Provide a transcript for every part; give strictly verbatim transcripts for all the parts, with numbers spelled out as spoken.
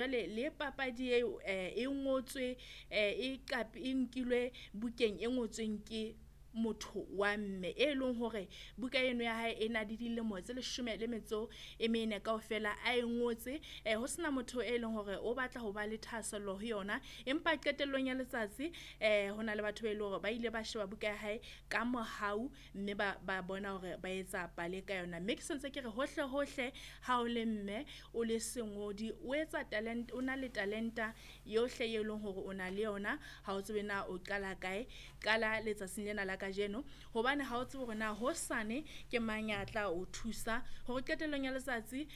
Jwale le papadi eo e ngotswe e e nkilwe bukeng e ngotsweng ke motho wa mme. E leng hore buka eno ya hae e na le dilemo tse leshome le metso e mene kaofela a e ngotse ho sena motho e leng hore o batla ho ba le thahasello ho yona. Empa qetellong ya letsatsi ho na le batho ba eleng hore ba ile ba sheba buka ya hae ka mohau mme ba ba bona hore ba etsa pale ka yona. Mme ke sentse ke re hohle hohle ha o le mme o le sengodi, o etsa talent, o na le talenta yohle e leng hore o na le yona. Ha o tsebe na o qala kae, qala letsatsing lena la kajeno hobane ha o tsebe hore na hosane ke mang ya tla o thusa hore qetellong ya letsatsi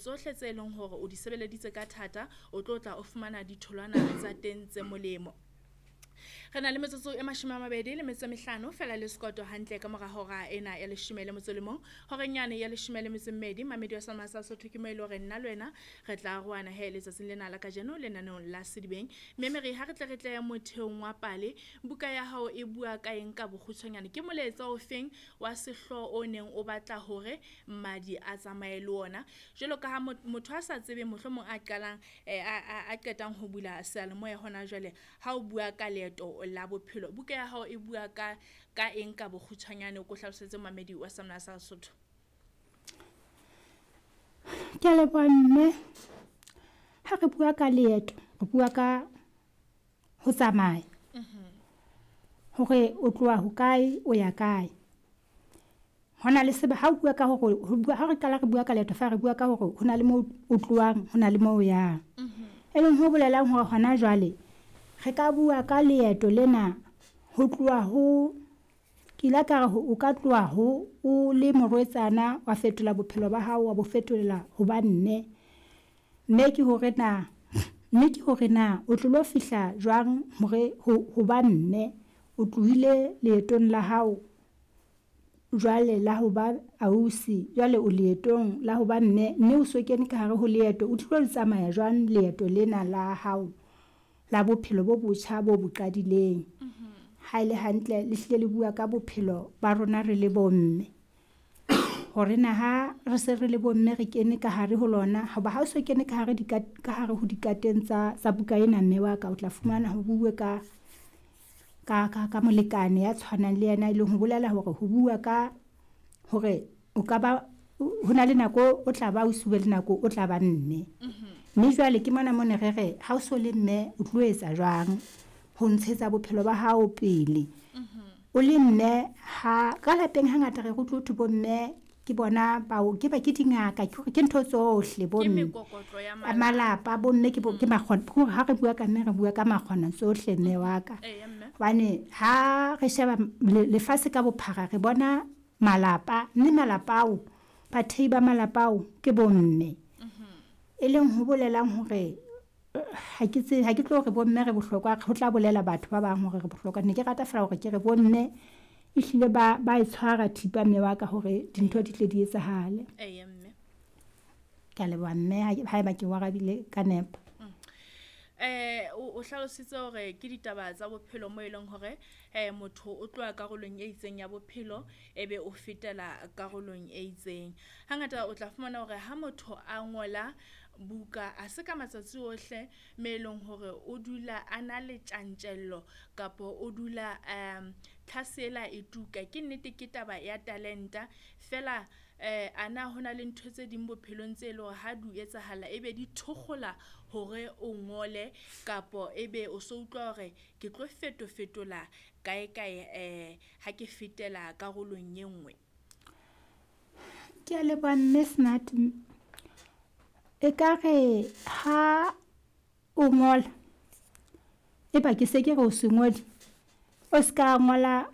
tsohle tse leng hore o di sebeleditse ka thata, o tlo tla o fumana ditholwana tsa teng tse molemo. Re na le metsotso e mashome a mabedi le metso e mehlano fela le sekoto hantle ka mora hora ena ya leshome le motso le mong. Horeng yane ya leshome le metso e mmedi mamedi wa Selma sa Sotho ke mo e le hore nna le wena re tla arohana he letsatsing lena la kajeno lenaneong la Sedibeng. Mme Mary ha re tle re tle motheong wa pale, buka ya hao e bua ka eng ka bokgutshwanyane? Ke molaetsa o feng wa sehlooho o neng o batla hore mmadi a tsamaye le ona? Jwalo ka ha motho a sa tsebeng mohlomong a qalang a qetang ho bula seyalemoya hona jwale, ha o bua ka leeto la bophelo, buka ya hao e bua ka ka eng ka bokgutshwanyane? O ko hlalosetse momamedi wa Seyanmoya sa Sesotho. Ke a leboha mme. Ha re bua ka leeto, re bua ka ho tsamaya. Hore o tloha hokae, o ya kae. Hona le ha o bua ka hore ho bua, ha re qala re bua ka leeto fa re bua ka hore ho na le moo o tlohang, ho na le moo o yang. E leng ho bolelang hore hona jwale re ka bua ka leeto lena ho tloha ho, ke ile ka re o ka tloha ho o le morwetsana wa fetola bophelo ba hao wa bo fetolela ho ba mme. Mme ke hore na, mme ke hore na o tlilo fihla jwang hore ho ba mme. O tlohile leetong la hao jwale la ho ba ausi, jwale o leetong la ho ba mme, mme o so kene ka hare ho leeto. O tlilo le tsamaya jwang leeto lena la hao la bophelo bo botjha bo bo qadileng? Ha ele hantle, le hlile le bua ka bophelo ba rona re le bomme. Hore na ha re se re le bomme re kene ka hare ho lona, hoba ha o so kene ka hare ka hare ho dikateng tsa, tsa buka ena mme wa ka, o tla fumana ho bue ka, ka, ka, ka molekane ya tshwanang le yena, e leng ho bolela hore ho bua ka hore o ka ba, ho na le nako o tla ba ausi, ho be le nako o tla ba mme. Mme jwale ke mona mo ne re re ha o so le mme o tlo etsa jwang ho ntshetsa bophelo ba hao pele. O le mme ha ka lapeng hangata re utlwe ho thwe bo mme ke bona bao ke ba ke dingaka, ke hore ke ntho tsohle bo Ke mme. mekokotlo ya Malapa bo mme ke bo ke makgona, ke hore ha re bua ka mme re bua ka makgona tsohle mme wa ka. Eya mme. Hobane ha re sheba lefatshe ka bophara re bona malapa, mme malapa ao bathehi ba malapa ao ke bomme. E leng ho bolelang hore ha ke tsebe, ha ke tlo re bomme re bohlokwa, ho tla bolela batho ba bang hore re bohlokwa. Ne ke rata feela hore ke re bomme ehlile ba, ba e tshwara thipa mme wa ka hore dintho di tle di etsahale. Eya mme. Ke a leboha mme, haeba ke o arabile ka nepo. Eh o hlalositse hore ke ditaba tsa bophelo mo eleng hore eh motho o tloha karolong e itseng ya bophelo ebe o fetela karolong e itseng. Hangata o tla fumana hore ha motho a ngola buka a se ka matsatsi ohle me eleng hore o dula a na le tjantjello kapa o dula um tlhasela e tuka. Ke nnete ke taba ya talenta fela eh ana hona le ntho tse ding bophelong tse leng hore ha di etsahala ebe di thokgola hore o ngole kapo ebe o so utlwa hore ke tlo feto fetola kae kae eh ha ke fetela karolong e nngwe. Ke a leboha mme Smart. Ekare ha o ngola, eba ke se ke re o sengodi, o ska ngola